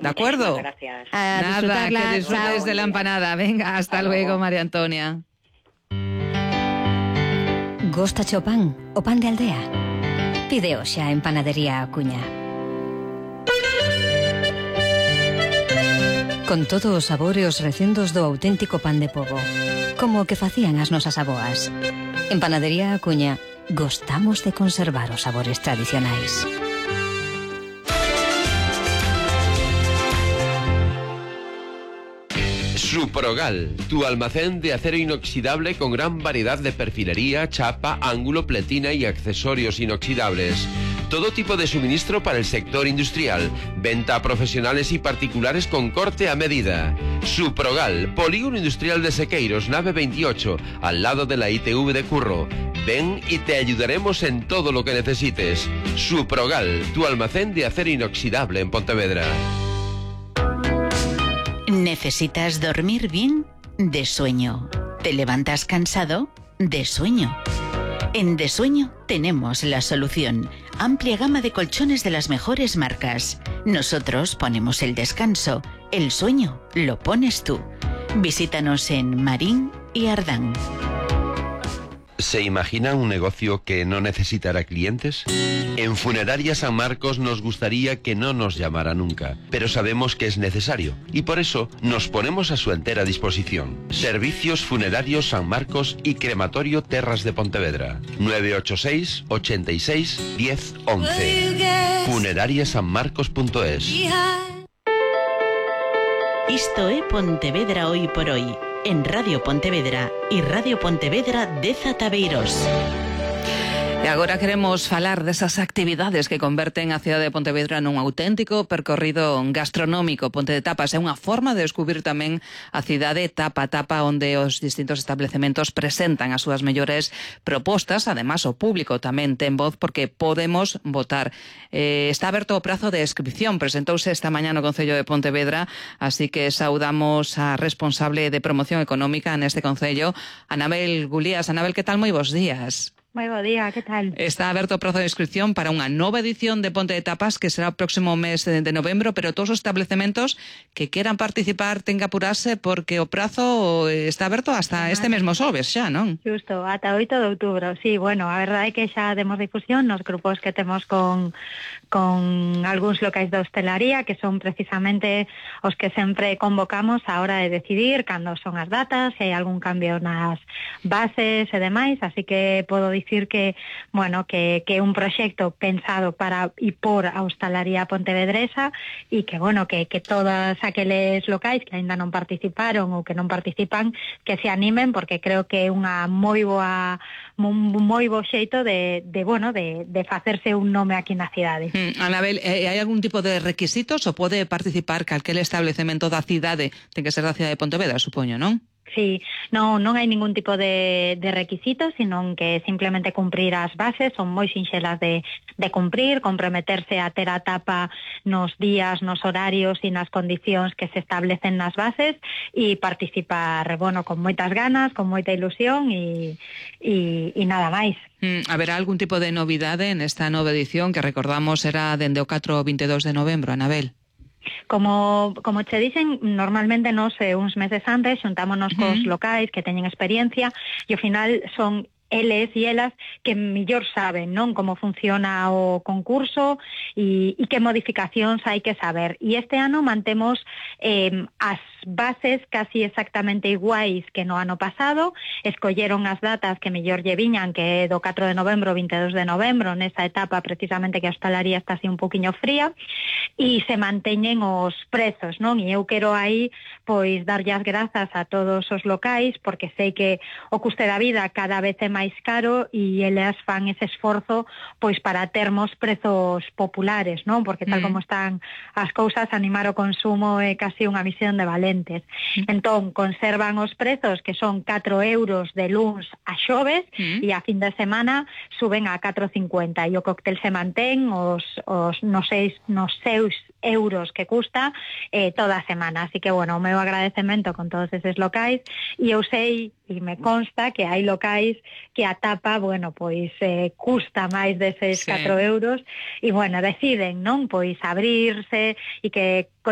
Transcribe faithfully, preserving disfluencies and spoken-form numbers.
¿De acuerdo? Gracias. A Nada, que disfrutes Chao. de la empanada. Venga, hasta, hasta luego, luego, María Antonia. Gosta o pan, o pan de aldea? Pide hoxe en Panadería Acuña. Con todos os sabores e os recendos do auténtico pan de pobo, como o que facían as nosas aboas. En Panadería Acuña gostamos de conservar os sabores tradicionais. Suprogal, tu almacén de acero inoxidable con gran variedad de perfilería, chapa, ángulo, pletina y accesorios inoxidables. Todo tipo de suministro para el sector industrial. Venta a profesionales y particulares con corte a medida. Suprogal, Polígono Industrial de Sequeiros, nave veintiocho, al lado de la I T V de Curro. Ven y te ayudaremos en todo lo que necesites. Suprogal, tu almacén de acero inoxidable en Pontevedra. ¿Necesitas dormir bien? De sueño. ¿Te levantas cansado? De sueño. En De Sueño tenemos la solución. Amplia gama de colchones de las mejores marcas. Nosotros ponemos el descanso. El sueño lo pones tú. Visítanos en Marín y Ardán. ¿Se imagina un negocio que no necesitará clientes? En Funeraria San Marcos nos gustaría que no nos llamara nunca, pero sabemos que es necesario y por eso nos ponemos a su entera disposición. Servicios Funerarios San Marcos y Crematorio Terras de Pontevedra. nueve ocho seis, ochenta y seis, diez, once. funeraria san marcos punto es. Isto é Pontevedra hoy por hoy. En Radio Pontevedra y Radio Pontevedra de Zatabeiros. E agora queremos falar desas actividades que converten a cidade de Pontevedra nun auténtico percorrido gastronómico. Ponte de Tapas é unha forma de descubrir tamén a cidade tapa a tapa, onde os distintos establecementos presentan as súas mellores propostas. Ademais, o público tamén ten voz porque podemos votar. Eh, está aberto o prazo de inscripción. Presentouse esta mañá no Concello de Pontevedra, así que saudamos a responsable de promoción económica neste Concello, Anabel Gulías. Anabel, que tal? Moi bons días. Moi bo día, que tal? Está aberto o prazo de inscripción para unha nova edición de Ponte de Tapas que será o próximo mes de, de novembro, pero todos os establecementos que queran participar ten que apurarse porque o prazo está aberto hasta este mesmo xoves xa, non? Justo, ata oito de outubro. Sí, bueno, a verdade é que xa demos difusión nos grupos que temos con con algúns locais de hostelaría, que son precisamente os que sempre convocamos a hora de decidir cando son as datas, se hai algún cambio nas bases e demais, así que podo dicir que, bueno, que que é un proxecto pensado para e por a hostalaría pontevedresa e que, bueno, que, que todas aqueles locais que aínda non participaron ou que non participan, que se animen, porque creo que é unha moi boa un moi bo xeito de, de bueno, de, de facerse un nome aquí na cidade. Mm, Anabel, eh, hai algún tipo de requisitos ou pode participar calquel establecemento da cidade? Ten que ser da cidade de Pontevedra, supoño, non? Sí, non, non hai ningún tipo de, de requisitos, sino que simplemente cumprir as bases, son moi sinxelas de, de cumprir, comprometerse a ter a tapa nos días, nos horarios e nas condicións que se establecen nas bases e participar, bueno, con moitas ganas, con moita ilusión e, e, e nada máis. Mm, haberá algún tipo de novidade nesta nova edición que recordamos era dende o catro ao veintidós de novembro, Anabel? Como, como che dicen, normalmente nos eh, uns meses antes xuntámonos cos uh-huh. locais que teñen experiencia e ao final son eles e elas que mellor saben, non, como funciona o concurso e, e que modificacións hai que saber. E este ano mantemos eh, as bases casi exactamente iguais que no ano pasado, escolleron as datas que mellor lle viñan, que é do catro de novembro, veintidós de novembro, nesa etapa precisamente que a hostalaría está así un poquinho fría, e se manteñen os prezos, non? E eu quero aí pois darlle as grazas a todos os locais, porque sei que o custe da vida cada vez é máis caro e eles fan ese esforzo pois para termos prezos populares, non? Porque tal mm. como están as cousas, animar o consumo é casi unha misión de valentes. Mm. Entón, conservan os prezos que son catro euros de luns a xoves mm. e a fin de semana suben a catro cincuenta e o cóctel se mantén os, os nos, seis, nos seus euros que custa eh, toda a semana. Así que, bueno, o meu agradecemento con todos eses locais e eu sei e me consta que hai locais que a tapa, bueno, pois eh, custa máis deses sí. catro euros e, bueno, deciden, non? Pois abrirse e que